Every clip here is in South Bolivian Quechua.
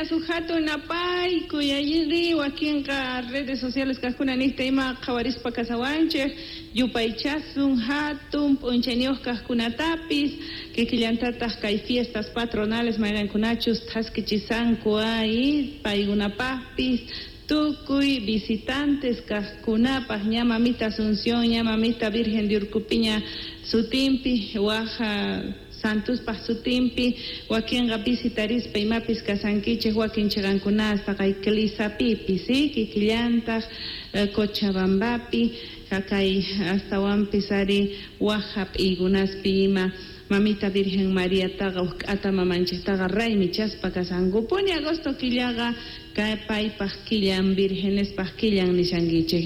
Mamitas uj hatun napaykuy allinri wakinqa redes sociales kajkuna niqta ima qhawarispa kasawanchej yupaychasun hatun p'unchayniyuq kajkunatapis kikillantataq kay fiestas patronales mayqinkunachus thaskichisanku ay paykunapaqpis tukuy visitantes kajkunapaq ña mamita Asunción ña mamita Virgen de Urcupiña sutinpi waj Santuspaq sutinpi wakinqa visitarispa imapis kasankichej wakin chiqankunasta kay Clisapipis kikillantaq Cochabambapi kay astawanpis ari waj hap'iykunaspi ima mamita Virgen Mariataqa uj k'ata mamanchiktaqa raymichaspa kasankupuni agosto killaqa kay paypaq killan virgenespaq killan nishankichej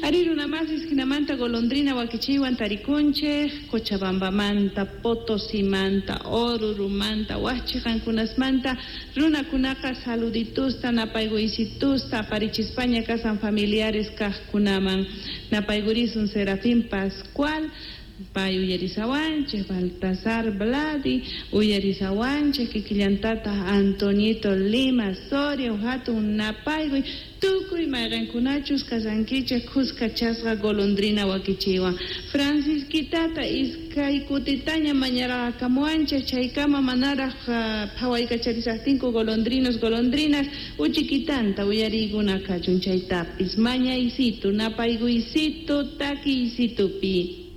ari runamasis hinamanta golondrina wakichiywan tarikunchej Cochabambamanta Potosimanta Orurumanta waj chiqankunasmanta runakunaqa saluditusta napaykuysitusta aparichispaña kasan familiares kajkunaman napaykurisun Serafín Pascual pay uyarisawanchej Baltasar Vladi uyarisawanchej kikillantataq Antonito Lima Soria hatun napaykuy tukuy mayqinkunachus kasankichej khuskachasqa golondrina wakichiywan Francisquitata iskay kutitaña mañaraqakamuwanchej chaykama manaraq phawaykacharishaqtinku golondrinos golondrinas uchikitanta uyariykuna kachun chaytapis mañaysitu napaykuysitu takiysitupi.